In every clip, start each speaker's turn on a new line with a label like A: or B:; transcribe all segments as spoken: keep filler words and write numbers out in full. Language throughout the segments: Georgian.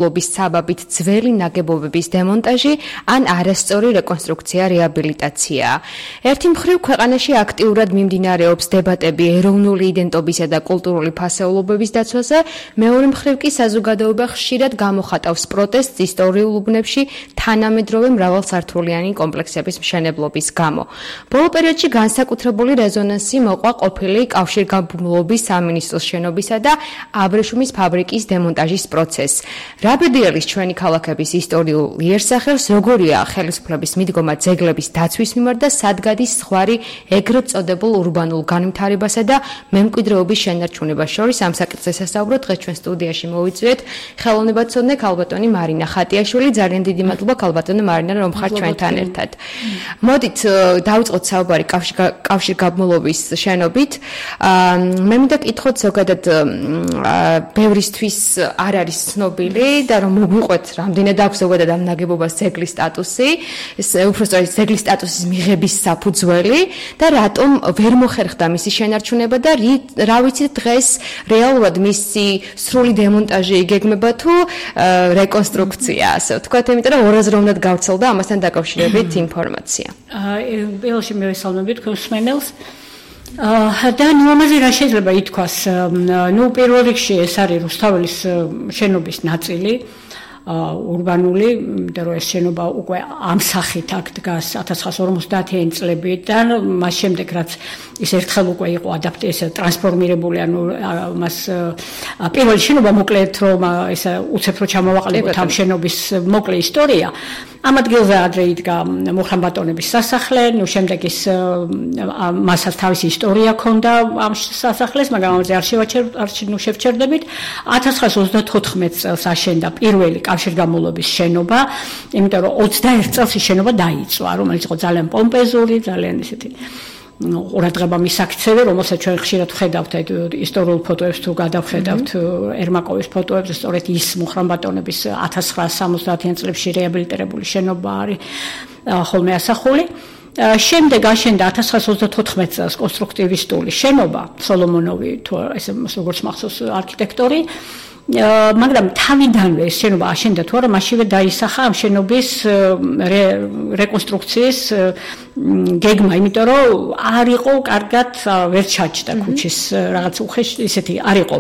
A: ლობის საბაბით ძველი ნაგებობების დემონტაჟი ან არასწორი რეკონსტრუქცია, რეაბილიტაცია. ერთი მხრივ ქვეყანაში აქტიურად მიმდინარეობს დებატები ეროვნული იდენტობისა და კულტურული ფასეულობების დაცვაზე, მეორე მხრივ კი საზოგადოება ხშირად გამოხატავს პროტესტს ისტორიულ უბნებში თანამედროვე მრავალსართულიანი კომპლექსების მშენებლობის გამო. ბოლო პერიოდში განსაკუთრებული რეზონანსი მოყვა ყოფილი კავშირგაბმულობის სამინისტროს შენობისა და აბრეშუმის ფაბრიკის დემონტაჟის პროცესს. რაბედიელის ჩვენი ქალაქების ისტორიულ იერსახელს როგორია ხელისუფლების მიდგომა ძეგლების დაცვის მიმართ და სად გადის ზღვარი ეგრეთ წოდებულ ურბანულ განვითარებასა და მემკვიდრეობის შენარჩუნებას შორის. ამ საკითხზე სასაუბროთ დღეს ჩვენ სტუდიაში მოვიწვიეთ ხელოვნებაცოდნე ქალბატონი მარინა ხატიაშვილი. ძალიან დიდი მადლობა ქალბატონო მარინა, რომ ხართ ჩვენთან ერთად. მოდით დავიწყოთ საუბარი კავშირგაბმულობის შენობით. მე მინდა კითხოთ ზოგადად ბევრისთვის არ არის ცნობილი და რომ მოგვიყვეთ რამდენად აქვს ზოგადად ამ ნაგებობას ძეგლის სტატუსი, უბრალოდ ძეგლის სტატუსის მიღების საფუძველი და რატომ ვერ მოხერხდა მისი შენარჩუნება და რა ვიცით დღეს რეალურად მისი სრული დემონტაჟი იგეგმება თუ რეკონსტრუქცია, ასე ვთქვათ, იმიტომ რომ ორაზროვნად გავრცელდა ამასთან დაკავშირებით ინფორმაცია.
B: პირველში მივესალმები თქვენ მსმენელს. და ნუ ამაზე რა შეიძლება ითქვას? ნუ პირველ რიგში ეს არის რუსთაველის შენობის ნაწილი, ურბანული, იმიტომ რომ ეს შენობა უკვე ამ სახით აქ დგას ათას ცხრაასი ორმოცდაათიანი წლებიდან, მას შემდეგ რაც ის ერთხელ უკვე იყო ადაპტირებული, ტრანსფორმირებული, ანუ მას პირველი შენობა მოკლედ რომ ეს უცებ რო ჩამოვაყალიბოთ ამ შენობის მოკლე ისტორია. ამ ადგილზე ადრე იდგა მუხრან-ბატონების სასახლე, ნუ შემდეგ ის მასაც თავისი ისტორია ჰქონდა ამ სასახლეს, მაგრამ ამაზე არ შევჩერდებით. ათას ცხრაასი ოცდათოთხმეტ წელს აშენდა პირველი კავშირგაბმულობის შენობა, იმიტომ რომ ოცდაერთ წელს ის შენობა დაიწვა, რომელიც იყო ძალიან პომპეზური, ძალიან ისეთი ყურადღება მისაქცევი, რომელსაც ჩვენ ხშირად ვხედავთ ისტორიულ ფოტოებს თუ გადავხედავთ ერმაკოვის ფოტოებს, სწორედ ის მუხრან-ბატონების ათას ცხრაასი სამოცდაათიან წლებში რეაბილიტირებული შენობა არის ხოლმე ასახული. შემდეგ აშენდა ათას ცხრაასი ოცდათოთხმეტ წელს კონსტრუქტივისტული შენობა, სოლომონოვი თუ ესე როგორც მახსოვს არქიტექტორი. მაგრამ თავიდანვე ეს შენობა აშენდა თუ არა, მაშინვე დაისახა ამ შენობის რეკონსტრუქციის გეგმა, იმიტომ რომ არ იყო კარგად ვერ ჩაჭდა ქუჩის რაღაც უხეში, ისეთი არ იყო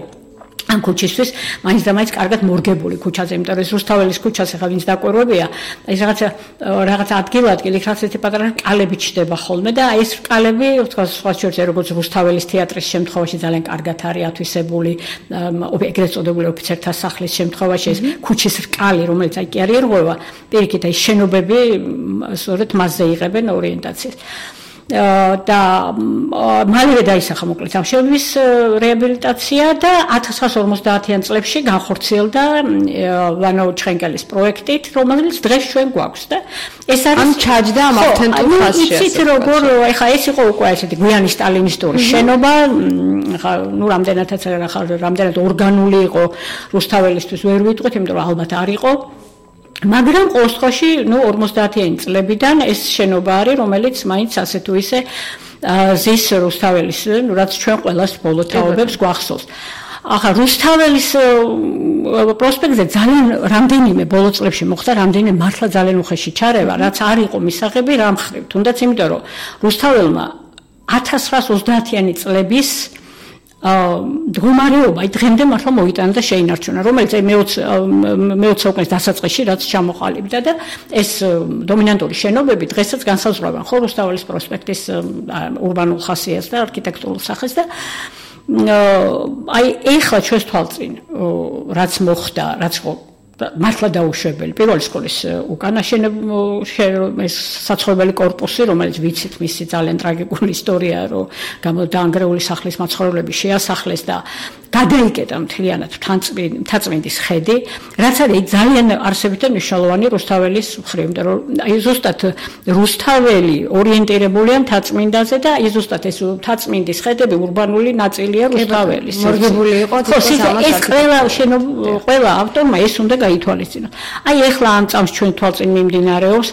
B: ამ ქუჩისთვის, მაინც და მაინც კარგად მორგებული ქუჩაზე, იმიტომ რომ ეს რუსთაველის ქუჩას ახლა ვინც დაკვირვებია, ეს რაღაცა რაღაცა ადგილ-ადგილ იქ რაღაც პატარა კალები ჩდება ხოლმე და ეს კალები, თქვა სხვა შორზე როგორც რუსთაველის თეატრის შემთხვევაში ძალიან კარგად არის ათვისებული, ეგრეთ წოდებული ოფიცერთა სახლის შემთხვევაში ეს ქუჩის რკალი, რომელიც აი კი არ ერღვევა, პირიქით აი შენობები სწორედ მასზე იღებენ ორიენტაციას. და მალევე დაისახა მოკლედ ამ შენობის რეაბილიტაცია და ათას ცხრაასი ორმოცდაათიან წლებში განხორციელდა ვანო ჩხენკელის პროექტით, რომელიც დღეს ჩვენ გვაქვს და ეს არის
A: ამ ჩაჯდა ამ ავთენტურ ფასში.
B: იცით როგორ ეხა ეს იყო უკვე ესეთი გვიანი სტალინისტური შენობა, ხა ნუ რამდენადაც ახლა რამდენად ორგანული იყო რუსთაველისთვის ვერ ვიტყვით, იმიტომ რომ ალბათ არ იყო. მაგრამ ყოველ შემთხვევაში, ნუ ორმოცდაათიანი წლებიდან ეს შენობა არის, რომელიც მაინც ასე თუ ისე ზის რუსთაველის, ნუ რაც ჩვენ ყველას ბოლო თაობებს გვახსოვს. ახლა რუსთაველის პროსპექტზე ძალიან რამდენიმე ბოლო წლებში მოხდა რამდენიმე მართლა ძალიან უხეში ჩარევა, რაც არ იყო მისაღები რამ ხრივ, თუნდაც იმიტომ რომ რუსთაველმა ათას ცხრაასი ოცდაათიანი წლების მდგომარეობა დღემდე მართლა მოიტანა და შეინარჩუნა, რომელიც მეოცე საუკუნის დასაწყისში რაც ჩამოყალიბდა და ეს დომინანტური შენობები დღესაც განსაზღვრავენ ხო რუსთაველის პროსპექტის ურბანულ ხასიათს და არქიტექტურულ სახეს და აი ეხლა ჩვენს თვალწინ რაც მოხდა, რაც მართლა დაუშვებელი პირველი სკოლის უკანა ეს საცხოვრებელი კორპუსი, რომელიც ვიცით მისი ძალიან ტრაგიკული ისტორია, რომ გამოდაანგრეული სახლის მაცხოვრებლები შეასახლეს და გადაიკეტა მთლიანად მთაწმინდის ხედი, რაც არის ძალიან არსებითი მნიშვნელოვანი რუსთაველის მხრივ, იმიტომ რომ აი ზუსტად რუსთაველი ორიენტირებულია მთაწმინდაზე და აი ზუსტად ეს მთაწმინდის ხედები ურბანული ნაწილია რუსთაველის.
A: მორგებული იყო
B: ეს ყველა ყველა ავტორმა ეს უნდა გაითვალისწინოს. აი ეხლა ამ წამს ჩვენ თვალწინ მიმდინარეობს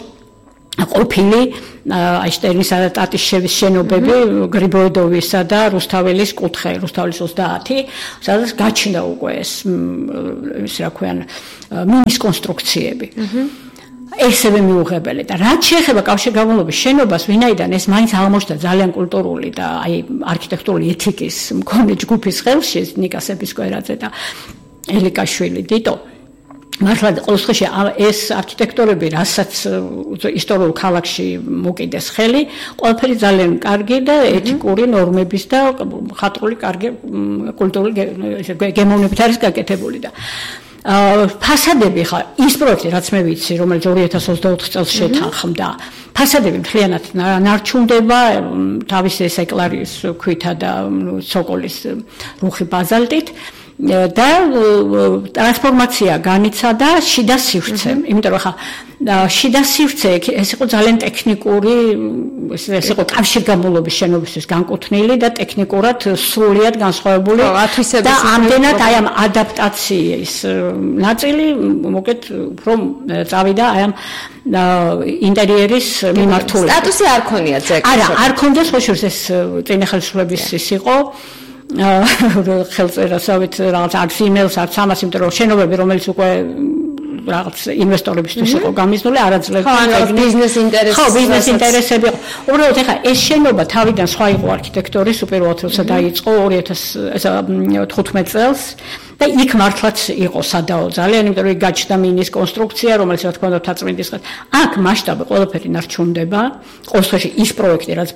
B: ყოფილი აიშტერინისა და ტატიშევის შენობები გრიბოედოვისა და რუსთაველის კუთხე, რუსთაველის ოცდაათი, სადაც გაჩნდა უკვე ეს ის რა ქვიან მინის კონსტრუქციები. ესევე მიუღებელი და რაც შეეხება კავშირგაბმულობის შენობას, ვინაიდან ეს მაინც აღმოჩნდა ძალიან კულტურული და აი არქიტექტურული ეთიკის მქონე ჯგუფის ხელში, ნიკა სეპისკვერაძე და ელიკაშვილი დიტო. მართლა ყოველ შემთხვევაში ეს არქიტექტორები, რასაც ისტორიულ ქალაქში მოკიდეს ხელი, ყველაფერი ძალიან კარგი და ეთიკური ნორმების და ხატრული კარგი კულტურული გემოვნებით არის გაკეთებული და ფასადები ხა ის პროექტი რაც მე ვიცი, რომელიც ორი ათას ოცდაოთხ წელს შეთანხმდა, ფასადები მთლიანად ნარჩუნდება თავისი ეკლარის ქვითა და ცოკოლის რუხი ბაზალტით და ტრანსფორმაცია განიცადა შიდა სივრცე, იმიტომ რომ ხა შიდა სივრცე ეს იყო ძალიან ტექნიკური, ეს იყო კავშირგაბმულობის შენობისთვის განკუთვნილი და ტექნიკურად სრულიად განსხვავებული და ამდენად აი ამ ადაპტაციის ნაწილი მოკეთ უფრო წავიდა აი ამ ინტერიერის მიმართულებით.
A: სტატუსი არ ქონია ძეგლს.
B: არა, არ ქონდეს ხო შორს ეს წინა ხელისუფლების ის იყო ხელწერასავით რაღაც არც იმეილს არც ამას, იმიტომ რომ შენობები რომელიც უკვე რაღაც ინვესტორებისთვის იყო გამიზნული, არაძლევს
A: ბიზნეს ინტერესები.
B: ხო, ბიზნეს ინტერესები იყო. უბრალოდ ეხლა ეს შენობა თავიდან სხვა იყო არქიტექტორის უპირველად როცა დაიწყო ორი ათას თხუთმეტ წელს და იქ მართლაც იყო სადაო ძალიან, იმიტომ რომ იქ გაჩნდა მინის კონსტრუქცია, რომელიც რა თქმა უნდა თაწმინდის ხარ. აქ მასშტაბი ყველაფერი ნარჩუნდება. ყოველ შემთხვევაში ის პროექტი რაც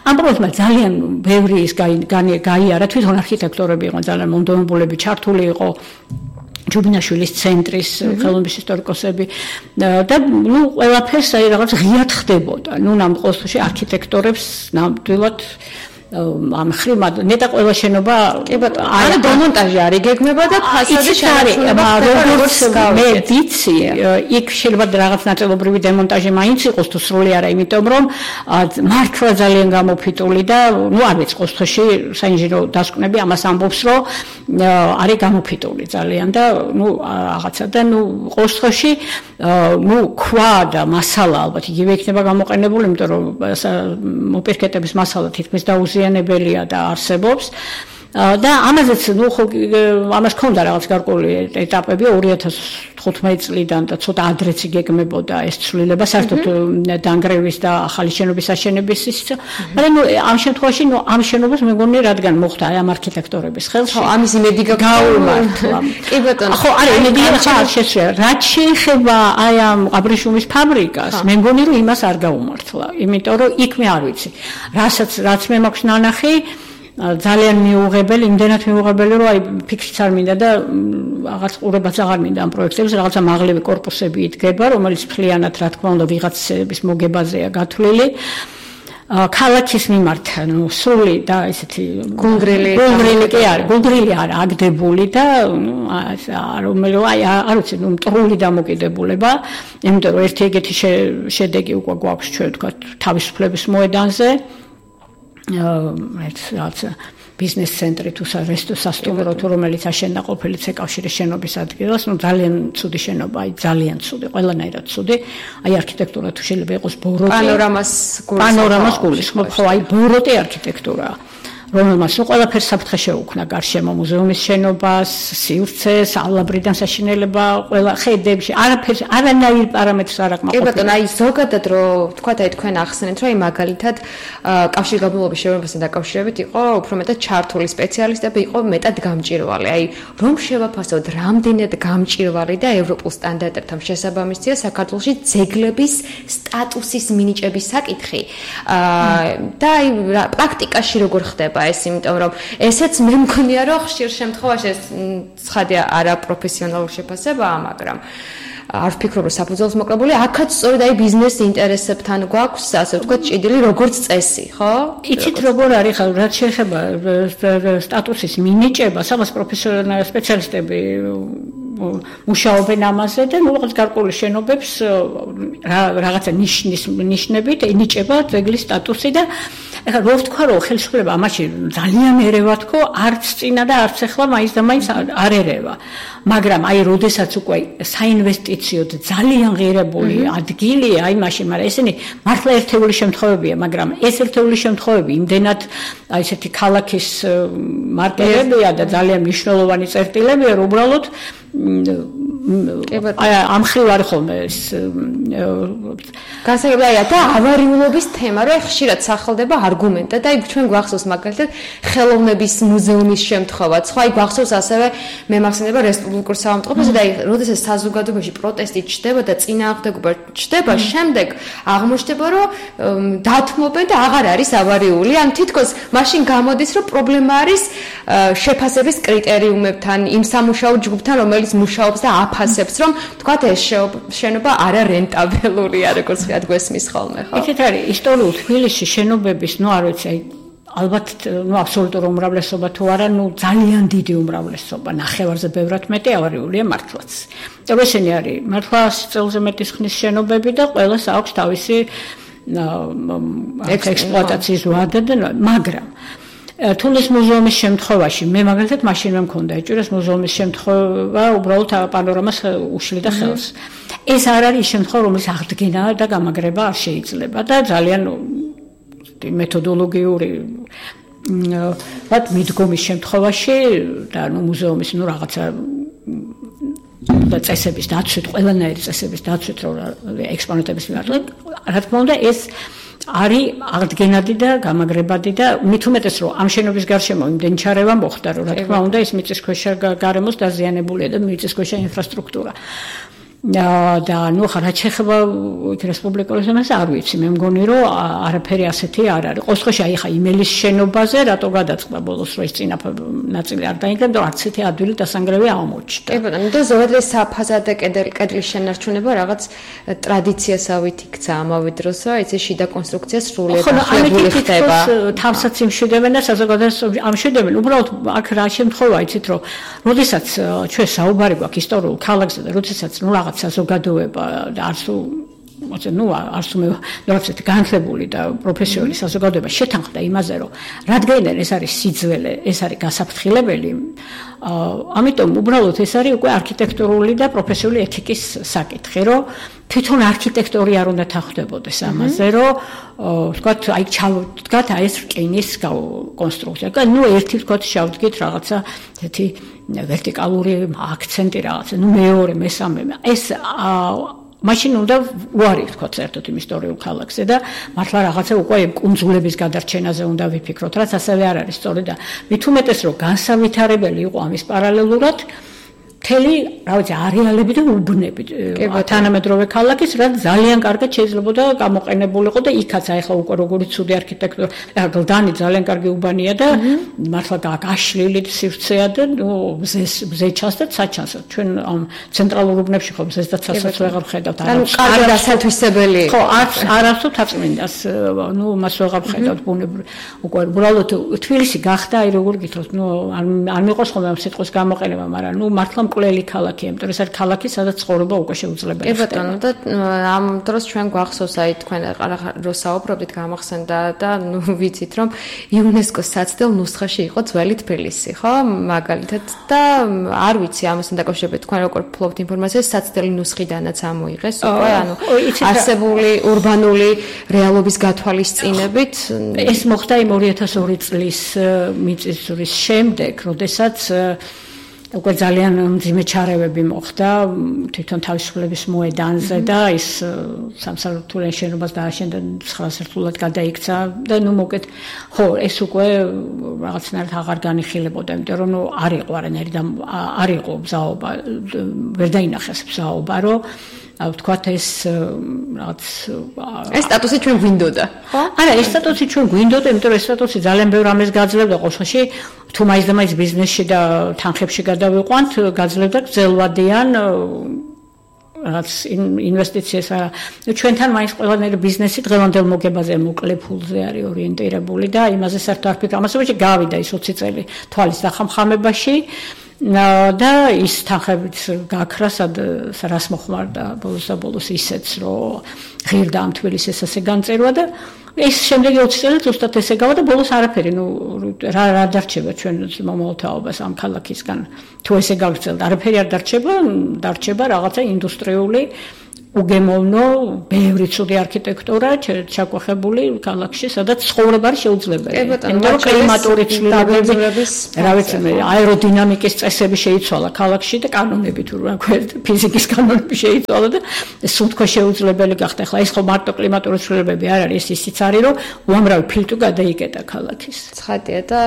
B: ამ პროექტმა ძალიან ბევრი ის გაიარა, თვითონ არქიტექტორები იყვნენ ძალიან მომდევნებულები, ჩართული იყო ჯუბინაშვილის ცენტრის ხელოვნების ისტორიკოსები და ნუ ყველაფერს აი რაღაც ღიად ხდებოდა. ნუ ნამ ყოველ შემთხვევაში არქიტექტორებს ნამდვილად ამ ხრიმა ნეტა ყველა შენობა
A: კი ბატონო არა დემონტაჟი არის გეგმება და ფასადი
B: შენარჩუნება როგორც მე ვიცი იქ შეიძლება რაღაც ნაწილობრივი დემონტაჟი მაინც იყოს თუ სრული არა, იმიტომ რომ მართლა ძალიან გამოფიტული და ნუ არ ვიცი ყოველ შემთხვევაში საინჟინრო დასკვნები ამას ამბობს რომ არის გამოფიტული ძალიან და ნუ რაღაცა და ნუ ყოველ შემთხვევაში ნუ ქვა და მასალა ალბათ იგივე იქნება გამოყენებული, იმიტომ რომ მოპირკეთების მასალა თითქმის დაუზიანებელია და არსებობს და ამაზეც ნუ ხო ამას ქონდა რაღაც გარკვეული ეტაპები ორი ათას თხუთმეტ წლიდან და ცოტა ადრეც იგეგმებოდა ეს ცვლილება საერთოდ დანგრევის და ახალი შენობის აშენების ის მაგრამ ნუ ამ შემთხვევაში ნუ ამ შენობას მეგონი რადგან მოხდა აი ამ არქიტექტორების ხელში
A: ხო ამის იმედი
B: გაუმართლა კი ბატონო ხო არა იმედი არ შეშია რაც შეეხება აი ამ აბრეშუმის ფაბრიკას მე მგონი რომ იმას არ გაუმართლა იმიტომ რომ იქ მე არ ვიცი რასაც რაც მე მაქვს ნანახი ძალიან მიუღებელი, იმდენად მიუღებელი, რომ აი ფიქრიც არ მინდა და რაღაც ყურებაც აღარ მინდა ამ პროექტებს, რაღაცა მაღლები корпуსები იდგება, რომელიც ფლიანად რა თქმა უნდა ვიღაცების მოგებაზეა გათვლილი. ქალაქის მიმართ, ну, სრული და ესეთი
A: გუნგრილი,
B: გუნგრილი კი არის, გუნგრილი არის აგდებული და რომელიც აი არ ვიცი, ну, მტრული დამოკიდებულება, იმიტომ რომ ერთი ეგეთი შედეგი უკვე გვაქვს ჩვენ თქვა თავისუფლების მოედანზე. ეს რაც ბიზნეს ცენტრი თუ სასტუმრო თუ რომელიც აშენდა ყოფილი ცეკავშირის შენობის ადგილას, ну ძალიან ცუდი შენობა, აი ძალიან ცუდი, ყველანაირად ცუდი. აი არქიტექტურა თუ შეიძლება იყოს ბოროტი.
A: პანორამას
B: გულისხმობს. პანორამას გულისხმობს, ხო, აი ბოროტი არქიტექტურაა. რომელმაც ნუ ყველაფერს საფრთხე შეუქმნა გარშემო მუზეუმის შენობას, სივრცეს, ალაბრიდან საშინელება, ყველა ხედებში, არაფერს, არანაირ პარამეტრს არ აქვს.
A: კი ბატონო, აი ზოგადად რო თქვა და თქვენ ახსენეთ, რომ აი მაგალითად კავშირგაბმულობის შენობასთან დაკავშირებით იყო უფრო მეტად ჩართული სპეციალისტები, იყო მეტად გამჭირვალი. აი რომ შევაფასოთ, რამდენად გამჭირვალი და ევროპულ სტანდარტებთან შესაბამისია საქართველოში ძეგლების სტატუსის მინიჭების საკითხი. და აი პრაქტიკაში როგორ ხდება ეს, იმიტომ რომ ესეც მე მგონია რომ ხშირ შემთხვევაში ეს ცხადია არაპროფესიონალური შეფასებაა, მაგრამ არ ვფიქრობ რომ საფუძველს მოკრებული, აქაც სწორედ აი ბიზნეს ინტერესებთან გვაქვს, ასე ვთქვათ, ჭიდილი როგორც წესი, ხო?
B: იცით როგორ არის ხა რაც შეეხება სტატუსის მინიჭებას, ამას პროფესიონალი სპეციალისტები მუშაობენ ამაზე და ნუ რაღაც გარკვეული შენობებს რაღაცა ნიშნის ნიშნებით ენიჭება ძეგლის სტატუსი და ეხლა რო ვთქვა რომ ხელისუფლება ამაში ძალიან ერევა თქო არც წინა და არც ახლა მაინც და მაინც არ ერევა მაგრამ აი როდესაც უკვე საინვესტიციო ძალიან ღირებული ადგილია აი მაშინ მაგრამ ესენი მართლა ერთეული შემთხვევებია მაგრამ ეს ერთეული შემთხვევები იმდენად აი ესეთი ქალაქის მარკერებია და ძალიან მნიშვნელოვანი წერტილებია რომ უბრალოდ აი ამ ხრივ არ ხოლმე ეს
A: გასაგებია და ავარიულობის თემა რომ ხშირად სახელდება არგუმენტად და აი ჩვენ გვახსოვს მაგალითად ხელოვნების მუზეუმის შემთხვევაც ხო აი გვახსოვს ასევე მე მახსენდება რესპუბლიკურ საავადმყოფოში და აი როდესაც საზოგადოებაში პროტესტი ჩდება და წინააღმდეგობა ჩდება შემდეგ აღმოჩნდება რომ დათმობენ და აღარ არის ავარიული ან თითქოს მაშინ გამოდის რომ პრობლემა არის შეფასების კრიტერიუმებთან იმ სამუშაო ჯგუფთან რომელიც მუშაობს და აფასებს რომ თქვათ ეს შენობა არა რენტაბელურია როგორც ვთქვათ გვესმის ხოლმე ხო?
B: იცით არის ისტორიულ თბილისში შენობების ნუ არ ვიცი აი ალბათ ნუ აბსოლუტურ უმრავლესობა თუ არა ნუ ძალიან დიდი უმრავლესობა ნახევარზე ბევრად მეტი ავარიულია მართლაც. და ესენი არის მართლა წელზე მეტის ხნის შენობები და ყველას აქვს თავისი ექსპლუატაციის ვადა და მაგრამ თუნდაც მუზეუმის შემთხვევაში მე მაგალითად მაშინ მე მქონდა ეჭირას მუზეუმის შემთხვევა უბრალოდ პანორამას უშლიდა ხელს. ეს არ არის შემთხვევა რომელიც აღდგენა და გამაგრება არ შეიძლება და ძალიან მეთოდოლოგიური ვთქვათ მიდგომის შემთხვევაში და ნუ მუზეუმის ნუ რაღაცა და წესების დაცვით ყველანაირი წესების დაცვით რომ ექსპონატების მიმართ რა თქმა უნდა ეს არის აღდგენადი და გამაგრებადი და მით უმეტეს რომ ამ შენობის გარშემო იმდენი ჩარევა მოხდა რომ რა თქმა უნდა ეს მიწისქვეშა გარემოს დაზიანებულია და მიწისქვეშა ინფრასტრუქტურა და ნუ ხარ რაც ეხება რესპუბლიკურ ზონას არ ვიცი მე მგონი რომ არაფერი ასეთი არ არის ყოველთვის აი ხა იმელის შენობაზე რატო გადაწყდა ბოლოს რომ ეს წინა ნაწილი არ დაინგრა და არც ერთი ადვილი დასანგრევი აღმოჩნდა
A: კი ბატონო და ზოგადად ეს საფასადე კედლის შენარჩუნება რაღაც ტრადიციასავით იქცა ამავე დროს რომ ეს შიდა კონსტრუქცია სრულიად ახალებული ხდება
B: თავსაც იმშვიდებენ და საზოგადოებას ამშვიდებენ უბრალოდ აქ რა შემთხვევა იცით რომ როდესაც ჩვენ საუბარი გვაქვს ისტორიულ ქალაქზე და როდესაც ნუ საზოგადოება და არც მოწე ნუ არც მე რაღაცეთ განხლებული და პროფესიონალი საზოგადოება შეთანხმდა იმაზე რომ რადგან ეს არის სიძველე ეს არის გასაფრთხილებელი ამიტომ უბრალოდ ეს არის უკვე არქიტექტურული და პროფესიული ეთიკის საკითხი რომ თვითონ არქიტექტორი არ უნდა თანხმდებოდეს ამაზე რომ ვთქვათ აი ჩავდგათ აი ეს რკინის კონსტრუქცია და ნუ ერთი ვთქვათ შევდგით რაღაცა ესეთი ვერტიკალური აქცენტი რაღაცა ნუ მეორე მესამე ეს მაშინ უნდა უარი ვთქვათ საერთოდ იმ ისტორიულ ქალაქზე და მართლა რაღაცა უკვე კუნძულების გადარჩენაზე უნდა ვიფიქროთ რაც ასევე არ არის სწორი და მით უმეტეს რომ განსავითარებელი იყო ამის პარალელურად მთელი რა ვიცი არეალები და უბნები თანამედროვე ქალაქის რაც ძალიან კარგად შეიძლებოდა გამოყენებულიყო და იქაც აიხლა უკვე როგორი ცუდი არქიტექტურა გლდანი ძალიან კარგი უბანია და მართლა გაშლილი სივრცეა და მზეს მზე ჩანს და საჩანს ჩვენ ამ ცენტრალურ უბნებში ხო მზეს და ცასაც ვეღარ ხედავთ
A: ანუ კარგი დასათვისებელი
B: ხო არც არასდროს თაწმინდას ნუ მას ვეღარ ხედავთ ბუნებრივ უკვე უბრალოდ თბილისი გახდა აი როგორ გითხრათ ნუ არ მიყვარს ხოლმე ამ სიტყვის გამოყენება მაგრამ ნუ მართლა მკვლელი ქალაქია, იმიტომ რომ ეს არის ქალაქი, სადაც ცხოვრება უკვე შეუძლებელია.
A: კი ბატონო, და ამ დროს ჩვენ გვახსოვს აი თქვენ რო საუბრობდით გამახსენდა და ნუ ვიცით რომ იუნესკოს საცდელ ნუსხაში იყო ძველი თბილისი, ხო? მაგალითად და არ ვიცი ამასთან დაკავშირებით თქვენ როგორ ფლობთ ინფორმაციას საცდელი ნუსხიდანაც ამოიღეს უკვე, ანუ არსებული урბანული რეალობის გათვალისწინებით
B: ეს მოხდა იმ ორი ათას ორი წლის მიწისძვრის შემდეგ, როდესაც უკვე ძალიან მძიმე ჩარევები მოხდა თვითონ თავისუფლების მოედანზე და ის სამსართულიან შენობას დააშენდა ცხრა სართულად გადაიქცა და ნუ მოკეთ ხო ეს უკვე რაღაცნაირად აღარ განიხილებოდა იმიტომ რომ ნუ არ იყო არანაირი და არ იყო ბზაობა ვერ დაინახეს ბზაობა რომ ვთქვათ ეს რაღაც
A: ეს სტატუსი ჩვენ გვინდოდა ხო?
B: არა ეს სტატუსი ჩვენ გვინდოდა იმიტომ რომ ეს სტატუსი ძალიან ბევრ ამას გაძლევდა ყოველში თუ მაინც და მაინც ბიზნესში და თანხებში გადავიყვანთ გაძლევდა გრძელვადიან რაღაც ინვესტიციას ჩვენთან მაინც ყველანაირი ბიზნესი დღევანდელ მოგებაზე მოკლე ფულზე არის ორიენტირებული და იმაზე საერთოდ არ ფიქრობ ამასობაში გავიდა ის ოცი წელი თვალის დახამხამებაში და ის თანხებით გაქრა სად რას მოხმარდა ბოლოს და ბოლოს ისეც რომ ღირდა ამ თბილისის ასე განწერვა და ეს შემდეგი ოცი წელი ზუსტად ესე გავა და ბოლოს არაფერი ნუ რა რა დარჩება ჩვენ მომავალთაობას ამ ქალაქისგან თუ ესე გაგრძელდა არაფერი არ დარჩება დარჩება რაღაცა ინდუსტრიული უგემოვნო ბევრი ცუდი არქიტექტურა ჩაკვეხებული ქალაქში სადაც ცხოვრება არ შეუძლებელი
A: იმიტომ რომ კლიმატური ცვლილებების
B: რა ვიცი მე აეროდინამიკის წესები შეიცვალა ქალაქში და კანონები თუ რა ქვია ფიზიკის კანონები შეიცვალა და სულ თქვა შეუძლებელი გახდა ახლა ეს ხო მარტო კლიმატური ცვლილებები არ არის ისიც არის რომ უამრავი ფილტვი გადაიკეტა ქალაქის
A: ცხადია და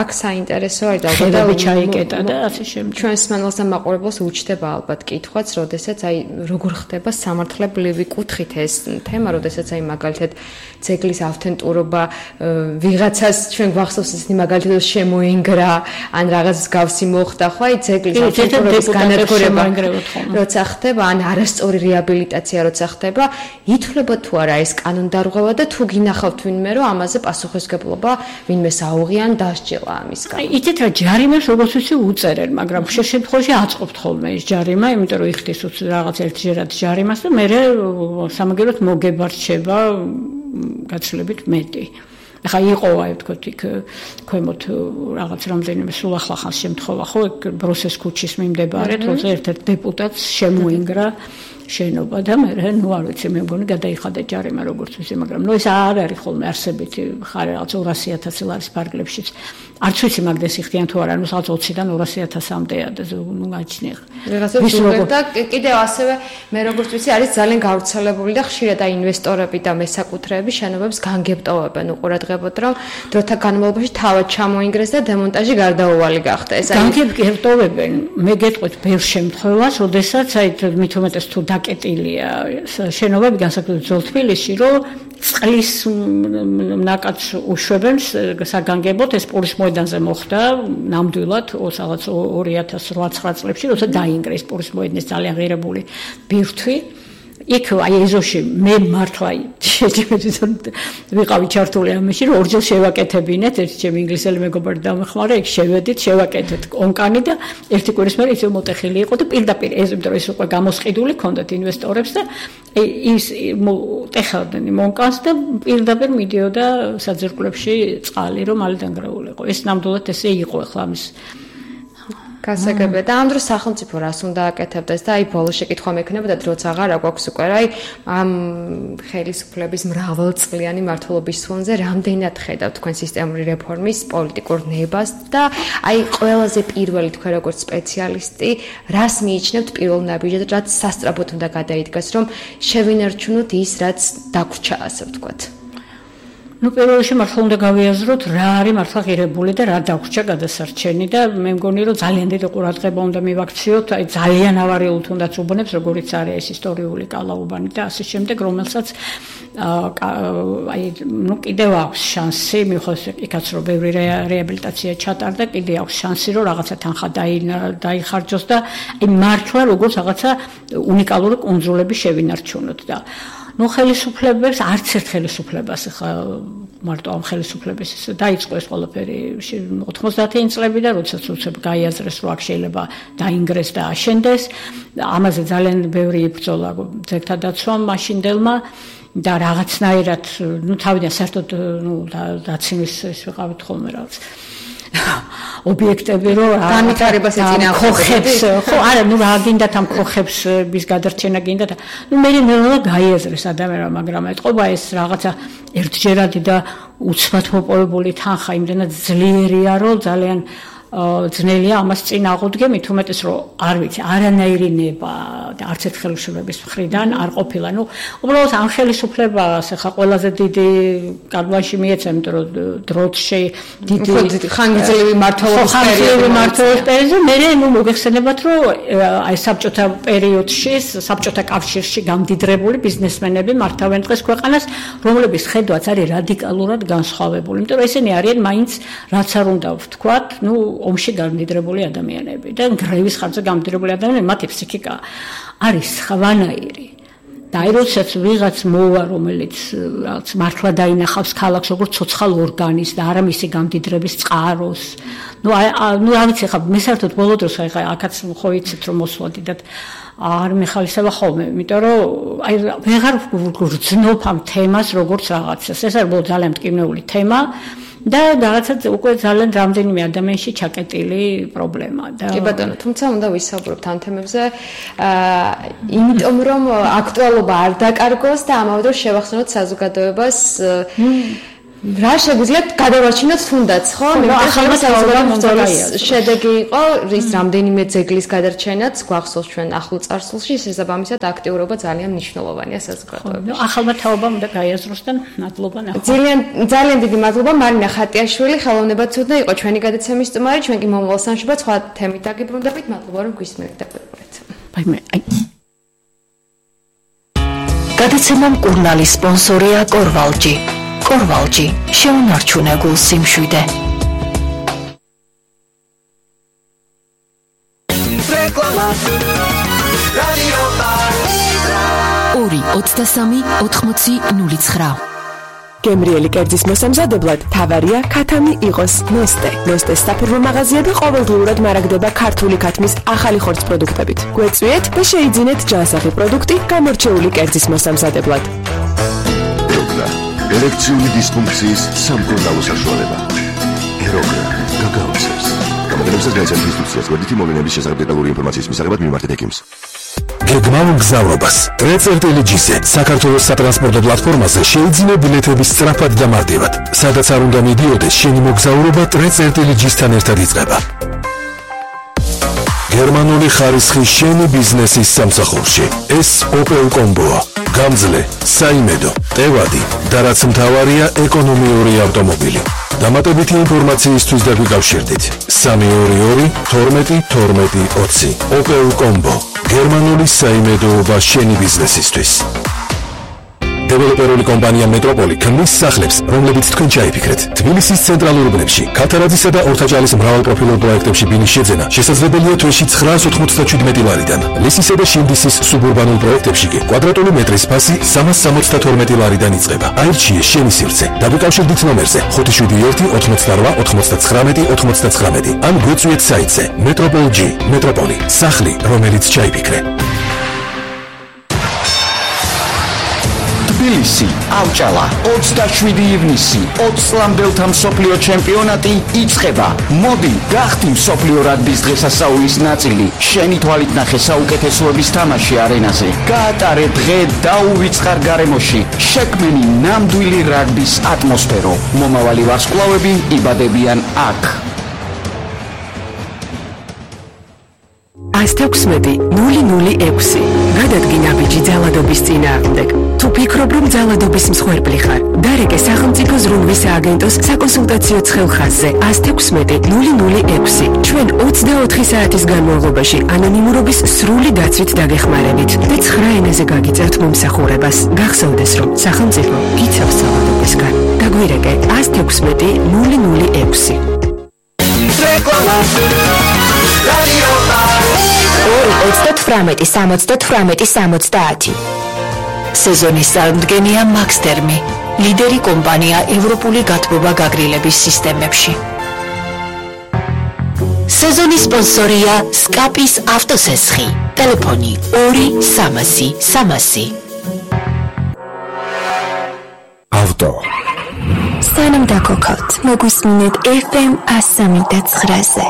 A: აქ საინტერესო არის
B: და ჩაიკეტა და ასე შემდეგ
A: ჩვენს მანლს და მაყურებელს უჩნდება ალბათ კითხვაც როდესაც აი როგორ ხდება სამართლებრივი კუთხით ეს თემა, როდესაც აი მაგალითად ძეგლის ავთენტურობა ვიღაცას ჩვენ გვახსოვს ისინი მაგალითად შემოინგრა, ან რაღაც გავსი მოხდა, ხო, აი ძეგლის ავთენტურობის განადგურება როცა ხდება, ან არასწორი რეაბილიტაცია როცა ხდება, ითვლება თუ არა ეს კანონდარღვევა და თუ გინახავთ ვინმე რომ ამაზე პასუხისგებლობა ვინმე საუღიან დასჯელა ამისგან.
B: აი იცით რა ჯარიმებს როგორც ვიცი უწერენ, მაგრამ ხშირ შემთხვევაში აწყობთ ხოლმე ეს ჯარიმა, იმიტომ რომ იხდის რაღაც ერთჯერად ჯარიმას და მე სამაგეროთ მოგებარჩება გაცილებით მეტი. ახლა იყო აი ვთქვათ იქ ქვემოთ რაღაც რამდენიმე სულ ახლა ხანს შემთხვევა ხო ბრუსეს ქუჩის მიმდებარედ როცა ერთ-ერთ დეპუტატს შემოინგრა შენობა და მე ნუ არ ვიცი მე მგონი გადაიხადა ჯარიმა როგორც ვიცი მაგრამ ნუ ეს არ არის ხოლმე არსებითი ხარ რაღაც ორასი ათასი ლარის ფარგლებშიც არც ვიცი მაგდეს იხდიან თუ არა ნუ რაღაც ოციდან ორასი ათასამდეა და ნუ გაჩნია
A: რაღაცა და კიდევ ასევე მე როგორც ვიცი არის ძალიან გავრცელებული და ხშირად აი ინვესტორები და მესაკუთრეები შენობებს განგებტოვებენ უყურადღებოდ რომ დროთა განმავლობაში თავად ჩამოინგრეს და დემონტაჟი გარდაუვალი გახდა ეს
B: არის განგებტოვებენ მე გეტყვით ბევრ შემთხვევას როდესაც აი მით უმეტეს თუ დაკეტილია შენობები განსაკუთრებით ძველ თბილისში რომ წყლის ნაკადს უშვებენ საგანგებოდ ეს პურის მოედანზე მოხდა ნამდვილად რაღაც ორი ათას რვა წლებში როცა დაინგრა ეს პურის მოედნის ძალიან ღირებული ბირთვი იქ აი ეზოში მე მართლა ვიყავი ჩართული ამაში რომ ორჯერ შევაკეთებინეთ ერთი ჩემი ინგლისელი მეგობარი დამეხმარა იქ შევედით შევაკეთეთ კონკანი და ერთი კვირის მერე ისევ მოტეხილი იყო და პირდაპირ ეს იმიტომ რომ ეს უკვე გამოსყიდული ჰქონდათ ინვესტორებს და ის ტეხავდნენ მონკანს და პირდაპირ მიდიოდა საძირკვლებში წყალი რომ მალე დანგრეულიყო ეს ნამდვილად ესე იყო ახლა ამის
A: გასაგებია და ამ დროს სახელმწიფო რას უნდა აკეთებდეს და აი ბოლო შეკითხვა მექნება და დროც აღარ აგვაქვს უკვე აი ამ ხელისუფლების მრავალწლიანი მართლობის ფონზე რამდენად ხედავთ თქვენ სისტემური რეფორმის პოლიტიკურ ნებას და აი ყველაზე პირველი თქვენ როგორც სპეციალისტი რას მიიჩნევთ პირველ ნაბიჯად რაც სასწრაფოდ უნდა გადაიდგას რომ შევინარჩუნოთ ის რაც დაგვრჩა ასე ვთქვათ
B: ну პირველ რიგში მართლა უნდა გავიაზროთ რა არის მართლა ღირებული და რა დაგვრჩა გადასარჩენი და მე მგონი რომ ძალიან დიდი ყურადღება უნდა მივაქციოთ აი ძალიან ავარიულ თუნდაც უბნებს როგორიც არის ეს ისტორიული კალაუბანი და ასე შემდეგ რომელსაც აი ну კიდევ აქვს შანსი მიუხედავად იქაც რომ ბევრი რეაბილიტაცია ჩატარდა კიდევ აქვს შანსი რომ რაღაცა თანხა დაიხარჯოს და აი მართლა როგორც რაღაცა უნიკალური კუნძულები შევინარჩუნოთ და ну ხელისუფლებებს არც ერთ ხელისუფლებას ხა მარტო ამ ხელისუფლების დაიწყო ეს ყველაფერი ოთხმოცდაათი წლები და როდესაც უცებ გაიაზრეს რომ აქ შეიძლება დაინგრეს და აშენდეს ამაზე ძალიან ბევრი იბრძოლა ძეგთა დაცვამ მაშინდელმა და რაღაცნაირად ну თავიდან საერთოდ ну დაცემის ეს ვიყავით ხოლმე რაღაც ობიექტები რომ
A: განვითარებას
B: ეწინააღმდეგებს ხო არა ნუ რა გინდათ ამ ქოხებს ის გადარჩენა გინდათ ნუ მე ნელა გაიაზრეს ადამიანმა მაგრამ ეთყობა ეს რაღაცა ერთჯერადი და უცბად მოპოვებული თანხა იმდენად ძლიერია რომ ძალიან ძნელია ამას წინ აღუდგე მით უმეტეს რომ არ ვიცი არანაირი ნება და არც ერთ ხელისუფლების მხრიდან არ ყოფილა ნუ უბრალოდ ამ ხელისუფლებას ხა ყველაზე დიდი კადვაში მიეცა იმიტომ რომ დროთში
A: დიდი ხანგრძლივი მართლობის
B: პერიოდი მართლობის პერიოდზე მე ნუ მოგეხსენებათ რომ აი საბჭოთა პერიოდში საბჭოთა კავშირში გამდიდრებული ბიზნესმენები მართავენ დღეს ქვეყანას რომლების ხედვაც არის რადიკალურად განსხვავებული იმიტომ რომ ესენი არიან მაინც რაც არ უნდა ვთქვათ ნუ ომში გამდიდრებული ადამიანები და გრევის ხარჯზე გამდიდრებული ადამიანები მათი ფსიქიკა არის სხვანაირი და აი როდესაც ვიღაც მოვა, რომელიც რაღაც მართლა დაინახავს ქალაქს როგორც ცოცხალ ორგანიზმს და არა მისი გამდიდრების წყაროს. ნუ აი ნუ არ ვიცი ხა მე საერთოდ ბოლო დროს აი აქაც ხო იცით რომ მოსვლოდით არ მეხალისება ხოლმე, იმიტომ რომ აი ვეღარ ვგრძნობ ამ თემას როგორც რაღაცას. ეს არის ძალიან მტკივნეული თემა. და რაღაცა უკვე ძალიან რამდენიმე ადამიანში ჩაკეტილი პრობლემა და
A: კი ბატონო, თუმცა უნდა ვისაუბროთ ამ თემებზე, აა იმიტომ რომ აქტუალობა არ დაკარგოს და ამავე დროს შევახსენოთ საზოგადოებას რა შეგვიძლია გადავარჩინოთ თუნდაც, ხო? მე ახალმა საზოგადოების შედეგი იყო ის რამდენიმე ძეგლის გადარჩენაც გვახსოვს ჩვენ ახლო წარსულში, შესაბამისად აქტიურობა ძალიან მნიშვნელოვანია საზოგადოებაში.
B: ახალმა თაობამ უნდა გაიაზროს და მადლობა ნახო.
A: ძალიან ძალიან დიდი მადლობა მარინა ხატიაშვილი, ხელოვნებად ცუდნა იყო ჩვენი გადაცემის სტუმარი, ჩვენ კი მომავალ სამშაბათს სხვა თემით დაგიბრუნდებით. მადლობა რომ გვისმენთ და გვეყურეთ.
B: ბაიმე.
C: გადაცემა მკურნალის სპონსორია კორვალჯი. კორვალჯი შეუნარჩუნე გულ სიმშვიდე. ორი ოცდასამი ოთხმოცი ნული ცხრა გემრიელი კერძის მოსამზადებლად თავარია ქათამი იყოს ნოსტე. ნოსტეს საფურმო მაღაზია და ყოველდღიურად მარაგდება ქართული ქათმის ახალი ხორცს პროდუქტებით. გვეწვიეთ და შეიძინეთ ჯანსაღი პროდუქტი გამორჩეული კერძის მოსამზადებლად.
D: ელექტრიული დისფუნქციის სამკურნალო საშუალება. ეროგრა გაგაოცებს. გამოგონებსაც გაიცემთ ინსტრუქციას გვერდითი მოვლენების შესახებ დეტალური ინფორმაციის მისაღებად მიმართეთ ექიმს.
E: გეგმავ მგზავრობას ტრეცერტელიჯიზე საქართველოს სატრანსპორტო პლატფორმაზე შეიძინე ბილეთების სწრაფად და მარტივად. სადაც არ უნდა მიდიოდეს, შენი მოგზაურობა ტრეცერტელიჯისთან ერთად იწყება. გერმანული ხარისხი შენი ბიზნესის სამსახურში. ეს ოპელ კომბოა. გამძლე, საიმედო, ტევადი და რაც მთავარია ეკონომიური ავტომობილი. დამატებითი ინფორმაციისთვის დაგვიკავშირდით სამი ორი ორი თორმეტი თორმეტი ოცი. ოპელ კომბო. გერმანული საიმედოობა შენი ბიზნესისთვის. დეველოპერული კომპანია მეტროპოლი ქმნის სახლებს, რომლებიც თქვენ ჩაიფიქრეთ. თბილისის ცენტრალურ უბნებში, ქათარაძისა და ორთაჭალის მრავალპროფილურ პროექტებში ბინის შეძენა შესაძლებელია თვეში ცხრაას ოთხმოცდაშვიდმეტი ლარიდან. ლისისა და შინდისის სუბურბანულ პროექტებში კი კვადრატული მეტრის ფასი სამას სამოცდათორმეტი ლარიდან იწყება. აირჩიე შენი სივრცე. დაგვიკავშირდით ნომერზე ხუთი შვიდი ერთი ოცდაოთხი ოცდაცხრამეტი ოცდაცხრამეტი ან გვეწვიეთ საიტზე მეტროპოლ-G. მეტროპოლი. სახლი, რომელიც ჩაიფიქრე.
F: თბილისი, ავჭალა, ოცდაშვიდი ივნისი, ოცლამდელთა მსოფლიო ჩემპიონატი იწყება. მოდი, გახდი მსოფლიო რაგბის დღესასწაულის ნაწილი. შენი თვალით ნახე საუკეთესოების თამაში არენაზე. გაატარე დღე დაუვიწყარ გარემოში. შექმენი ნამდვილი რაგბის ატმოსფერო. მომავალი ვარსკვლავები იბადებიან აქ.
C: ას თექვსმეტი ნული ნული ექვსი გადადგინა ბიჭი ძალადობის წინააღმდეგ. თუ ფიქრობ, რომ ძალადობის მსხვერპლი ხარ, დარეკე სახელმწიფო ზრუნვის სააგენტოს საკონსულტაციო ცხელხაზზე ას თექვსმეტი ნული ნული ექვსი. ჩვენ ოცდაოთხი საათის განმავლობაში ანონიმურობის სრული დაცვით დაგეხმარებით და ცხრა ენაზე გაგიწევთ მომსახურებას. გახსოვდეს, რომ სახელმწიფო იცავს ძალადობისგან. დაგვირეკე ას თექვსმეტი ნული ნული ექვსი. ორი ოცდათვრამეტი სამოცდათვრამეტი სამოცდაათი სეზონის წარმდგენია მაქსტერმი, ლიდერი კომპანია ევროპული გათბობა გაგრილების სისტემებში. სეზონის სპონსორია სკაპის ავტოსესხი. ტელეფონი ორი სამასი სამასი.
E: ავტო
G: სანამ დაგოქავთ, მოგვისმინეთ ეფ ემ სამი და ცხრაზე.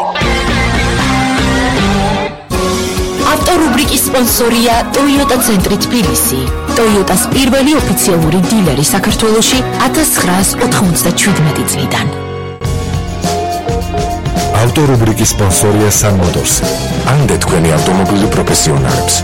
C: ავტორუბრიკის სპონსორია Toyota ცენტრი თბილისი. Toyota-ს პირველი ოფიციალური დილერი საქართველოში ათას ცხრაას ოთხმოცდაშვიდმეტი წლიდან.
E: ავტორუბრიკის სპონსორია Sun Motors. ამდე თქვენი ავტომობილი პროფესიონალებს.